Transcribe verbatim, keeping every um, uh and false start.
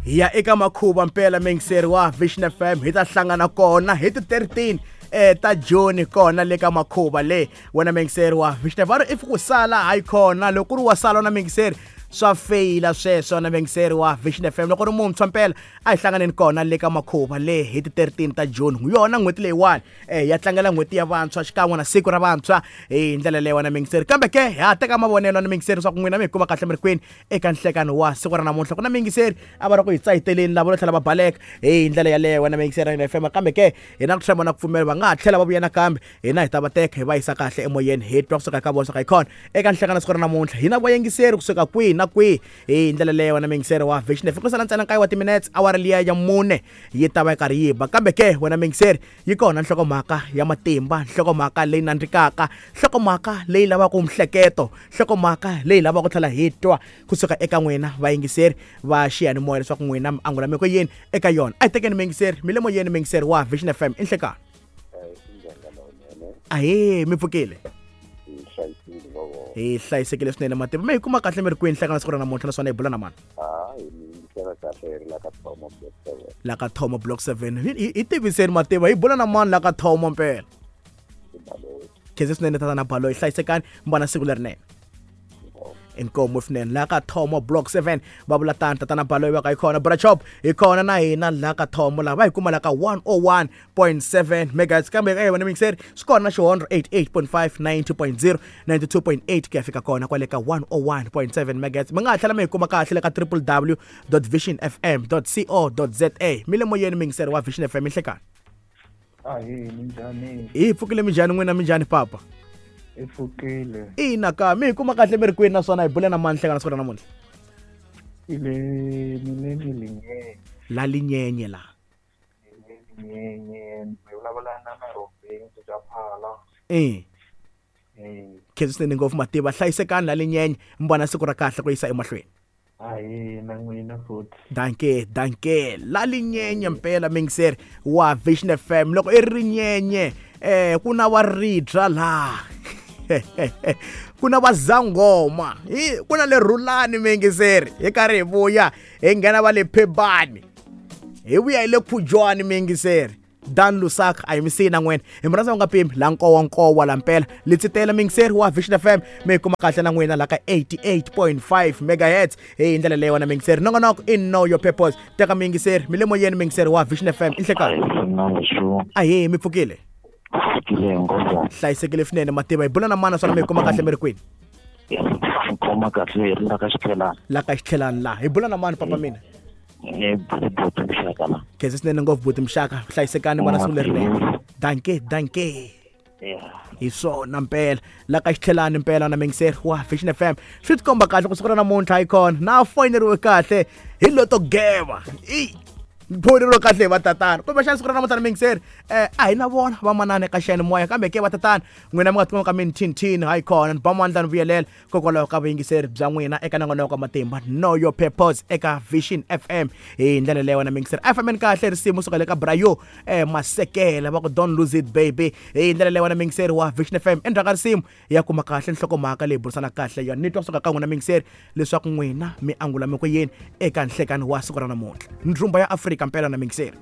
Hi ya eka makhuva mpela mingiseri wa Vision F M hi ta hlangana kona hi ti thirteen eh ta June kona le ka makhuva le wena mingiseri wa Vision F M if ku sala hayi khona loko ri wa sala na mingiseri swa feyila sweswo na mingiseri wa Vision F M loko ri muntshwa mpela a hi hlanganeni kona le ka makhuva le hi ti thirteen ta June yona n'hweti leyiwani eh ya tlangela n'hweti ya vantshwa xikan'we na siku ra vantshwa hi ndlela leyi wena mingiseri kambe ke ha teka mavonelo na mingiseri swa ku n'wina mi hi kuma kahle mi ri kwini eka nhlekano wa siku ra namuntlha ku na mingiseri a va ri ku hi tsayiteleni lava ro tlhela va baleka hi ndlela yaleyo wena mingiseri na F M kambe ke hi na ku tshemba na ku pfumela va nga ha tlhela va vuya nakambe hina hi ta va teka hi va yisa kahle emoyeni hi twa kusuka ka vona swa hi khona eka nhlekano siku ra namuntlha hina vayingiseri kusuka kwihi na kwihi hi ndlela leyo wena mingiseri wa Vision F M ku sala ntsena nkaye wa timinutes awara liya ya mune yi ta va yi karhi yi ba kambe ke wena mingiseri yi kona nhlokomhaka ya matimba nhlokomhaka leyi nandzikaka nhlokomhaka leyi lavaka mihleketo nhlokomhaka leyi lavaka ku tlhela hi twa kusuka eka n'wina vayingiseri va xiyanimoya leswaku n'wina mi angula mi ku yini eka yona a hi tekeni mingiseri mi le moyeni mingiseri wa Vision F M i nhlekano ahee mi pfukile hi hlayisekile swinene matimba mi hi kuma kahle mi ri kwini nhlekano siku ra namuntlha naswona hi bula na mani la ka Thomo Block seven hi tiviseni mativa hi bula na mani la ka Thomo mpela khensa swinene tatana Balo hi hlayisekani mi vona siku lerinene inkomo swinene la ka Thomo Block seven va vula tani tatana Balo va ka hi khona Brachop hi khona na hina la ka Thomo la va hi kuma la ka one oh one point seven megahertz kambe eka wena mingiseri swi kona xihondro eighty-eight point five ninety point zero ninety-two point eight ku ya fika kona kwale ka one oh one point seven megahertz mi nga ha tlhela mi hi kuma kahle le ka w w w dot vision f m dot co dot z a mi le moyeni mingiseri wa Vision F M inhlekani ahee minjhani hi pfukile minjhani n'wina minjhani papa hi pfukile ina ka mi hi kuma kahle mi ri kwini naswona hi bule na mani nhlekano siku ra namuntlha ile mi le Linyenye la Linyenye la Linyenye mi vulavula na Marobeni bya Phala eh khensa swinene ngopfu mativa hlayisekani la Linyenye mi vona siku ra kahle ku yisa emahlweni ahee na n'wina futhi danke danke la Linyenye mpela mingiseri wa Vision F M loko i ri Nyenye eh ku na wa ribya la ku na vazangoma hi ku na le Rhulani mingiseri hi karhi hi vuya hi nghena va le Phebani hi vuya hi le Khujwani mingiseri Dan Lusaka a hi mi siyi na n'wina hi mi rhandza u nga pimi la nkowa nkowa la mpela litsitela mingiseri wa Vision F M mi hi kuma kahle na n'wina la ka eighty-eight point five megahertz hi ndlela leyi wena mingiseri nongonoko i Know Your Purpose teka mingiseri mi le moyeni mingiseri wa Vision F M i nhlekani ahee mi pfukile hlayisekile swinene mativa hi bula na mana swona mi hi kuma kahle mi ri kwini kuma kahle hi ri la ka Xitlhelani la ka Xitlhelani la hi bula na mani papa mina buti Mxaka la khensa swinene ngopfu buti Mxaka hlayisekani vona siku lerinene danke danke hi swona mpela la ka Xitlhelani mpela na mingiseri wa Vision F M swi tikomba kahle ku siku ra namuntlha hi kona na foyineriwe kahle hi loto geva i phoneriwe kahle hi vatatana kumbexana siku ra namuntlha na mingiseri eh a hi na vona vamanana eka xiyanimoya kambe ke vatatana n'wina mi nga tikuma ka minthinthini hayi khona ni ba mandla ni vuyelela kokwalaho ka vuyingiseri bya n'wina eka nongonoko wa matimba Know Your Purpose eka Vision F M hi ndlela leyo wena mingiseri a hi fambeni kahle risimu suka le ka Brayo eh Masekela va ku don't lose it baby hi ndlela leyo wena mingiseri wa Vision F M endzhaku ka risimu ya kuma kahle nhlokomhaka leyi burisana kahle yona ni twa kusuka ka n'wina mingiseri leswaku n'wina mi angula mi ku yini eka nhlekani wa siku ra namuntlha ndrumba ya Afrika mpela na mingiseri.